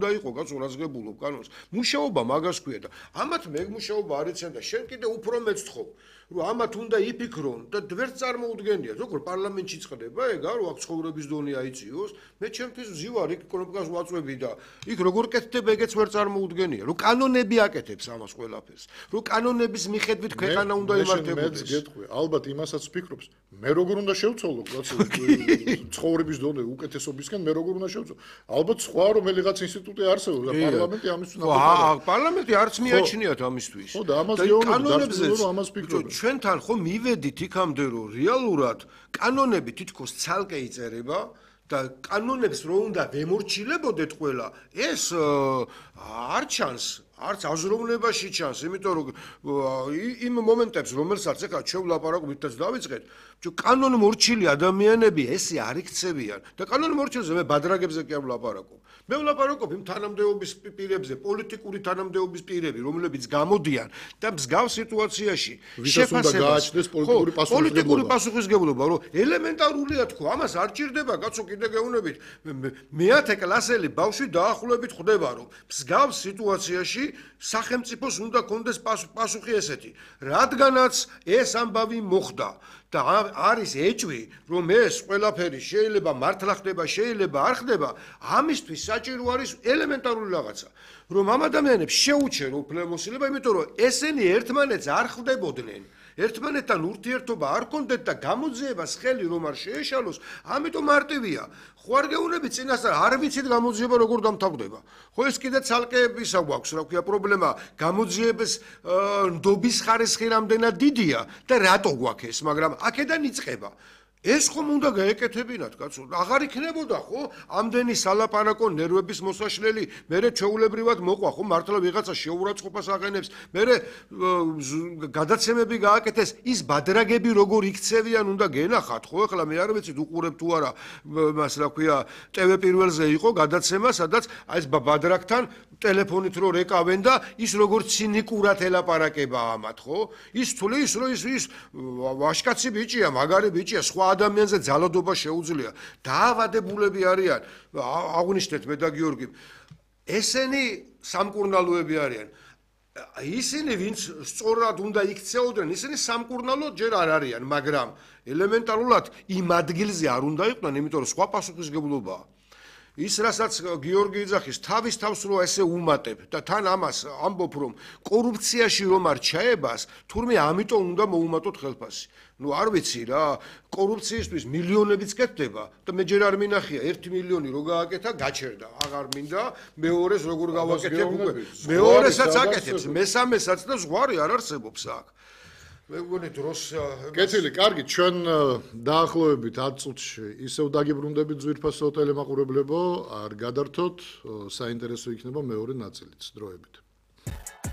და იყო კაცო რაზღებულობ კანონს. მუშაობა მაგას ქვია და ამათ მე მუშაობა არ იციან და შენ კიდე უფრო მეც თხოვ, რომ ამათ უნდა იფიქრონ და ვერც წარმოუდგენია. ზოგადად პარლამენტში წდება ეგ არა, აქ ცხოვრების დონე აიწიოს. მე ჩემთვის ვზივარ იქ ეკონომიკას ვაწვევი და იქ როგორ კეთდება ეგეც ვერ წარმოუდგენია, რომ კანონები აკეთებს ამას ყველაფერს, რომ კანონების მიხედვით ქვეყანა უნდა იმართებოდეს. მეც გეტყვი, ალბათ იმასაც ვფიქრობს, მე როგორ უნდა შევცვალო კაცო ცხოვრების დონე უკეთესობისკენ მე როგორ უნდა შევცვალო. ალბათ სხვა რომელიღაც ინსტიტუტი არსებობს და პარლამენტი ამისთვის ნაკლებია. პარლამენტი არც მიაჩნიათ ამისთვის. ხო და ამას გეუბნები რომ ამას ვფიქრობ. ჩვენთან ხო მივედით იქამდე რომ რეალურად კანონები თითქოს ცალკე იწერება და კანონებს რო უნდა ვემორჩილებოდეთ ყველა ეს არ ჩანს არც აზროვნებაში ჩანს იმიტომ რომ იმ მომენტებს რომელსაც ეხლა ჩვენ ვლაპარაკობთ დავიწყეთ კანონ მორჩილი ადამიანები ესე არ იქცევიან და კანონ მორჩილზე მე ბადრაგებზე კი არ ვლაპარაკობ მე ვლაპარაკობ იმ თანამდებობის პირებზე პოლიტიკური თანამდებობის პირები რომლებიც გამოდიან და მსგავს სიტუაციაში შეფასებას პოლიტიკური პასუხისგებლობა რომ ელემენტარულია თქო ამას არ ჭირდება კაცო კიდე გეუბნებით მეათე კლასელი ბავშვი დაახლოებით ხვდება რომ მსგავს სიტუაციაში სახელმწიფოს უნდა კონდეს პასუხი ესეთი რადგანაც ეს ამბავი მოხდა და არის ეჭვი რომ ეს ყველაფერი შეიძლება მართლა ხდება შეიძლება არ ხდება ამისთვის საჭირო არის ელემენტარული რაღაცა რომ ამ ადამიანებს შეუჩერო უფლებამოსილება იმიტომ რომ ესენი ერთმანეთს არ ხვდებოდნენ ერთმანეთთან ურთიერთობა არ კონდეთ და გამოძიებას ხელი რომ არ შეეშალოს ამიტომ მარტივია ხო არ გეუბნები წინასწარ არ ვიცით გამოძიება როგორ დამთავრდება ხო ეს კიდე ცალკე ისა გვაქვს რა ქვია პრობლემა გამოძიების ნდობის ხარისხი რამდენად დიდია და რატო გვაქვს ეს მაგრამ აქედან იწყება ეს ხომ უნდა გაეკეთებინათ კაცო აღარ იქნებოდა ხო ამდენი სალაპარაკო ნერვების მოსაშლელი მერე ჩვეულებრივად მოყვა ხო მართლა ვიღაცა შეურაცხყოფას აღენებს მერე გადაცემები გააკეთეს ის ბადრაგები როგორ იქცევიან უნდა გენახათ ხო ეხლა მე არ ვიცით უყურებ თუ არა მას რა ქვია TV პირველზე იყო გადაცემა სადაც აი ეს ბადრაგთან ტელეფონით რო რეკავენ და ის როგორ ცინიკურად ელაპარაკება ამათ ხო ის თulis რო ის ვაშკაცი ბიჭია მაგარი ბიჭია სხვა ადამიანზე ძალადობა შეუძლია დაავადებულები არიან აღნიშნეთ მე და გიორგი ესენი სამკურნალოები არიან ისინი ვინც სწორად უნდა იქცეოდნენ ისინი სამკურნალო ჯერ არ არიან მაგრამ ელემენტარულად იმ ადგილზე არ უნდა იყვნენ იმიტომ რომ სხვა პასუხისგებლობაა ის რასაც გიორგი იძახის თავის თავს რო ესე უმატებ და თან ამას ამბობ რომ კორუფციაში რომ არ ჩაებას თურმე ამიტომ უნდა მოუმატოთ ხელფასი ნუ არ ვიცი რა კორუფციისთვის მილიონებიც კეთდება და მე ჯერ არ მინახია 1 მილიონი რო გააკეთა გაჩერდა აღარ მინდა მეორეს როგორ გავაკეთებ უკვე მეორესაც აკეთებს მესამესაც და ზღვარი არ არსებობს აქ მე მგონი დროს კეთილი კარგი ჩვენ დაახლოებით 10 წუთში ისევ დაგიბრუნდებით ძვირფასო ტელემაყურებლებო არ გადართოთ საინტერესო იქნება მეორე ნაწილიც დროებით